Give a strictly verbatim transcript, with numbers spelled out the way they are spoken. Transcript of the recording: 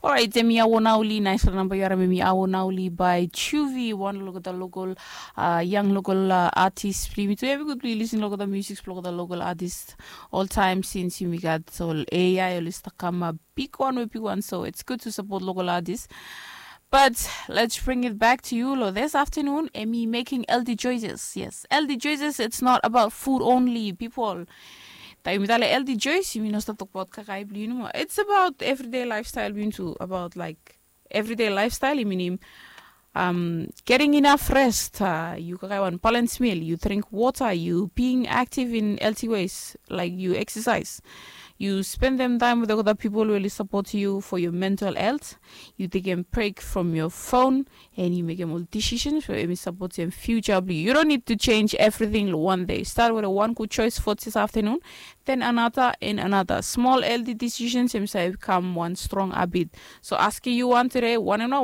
Orait, em i Awo Nauli, naispela namba yu harim em i Awo Nauli by Chuvi, wan long olgeta lokal, uh, yang lokal, uh, artist blong yumi tu. Em i gud blong yu lisin long olgeta music blong olgeta lokal artist oltaim, since yumi gat ol A I oli stap kamap bigwan we bigwan, so it's good to support local artist. But let's bring it back to you lo this afternoon, em i making healthy choices. Yes, healthy choices, it's not about food only, people. Taim yumi talem healthy choice, yumi no stap tokbaot kakae blong yu nomo. It's about everyday lifestyle blong yu tu, about like everyday lifestyle, i minim um, getting enough rest, uh, yu kakae wan balance meal, yu drink water, yu being active in healthy ways, like yu exercise, yu spendem taim with olgeta pipol we oli support yu for your mental health, yu tekem break from your phone, and yu mekem ol decisions we em i support your future blong yu. You don't need to change everything lo one day. Start with a one good choice for this afternoon, then another and another. Small healthy decisions em save kam wan strong habit. So asking you one today, one and one,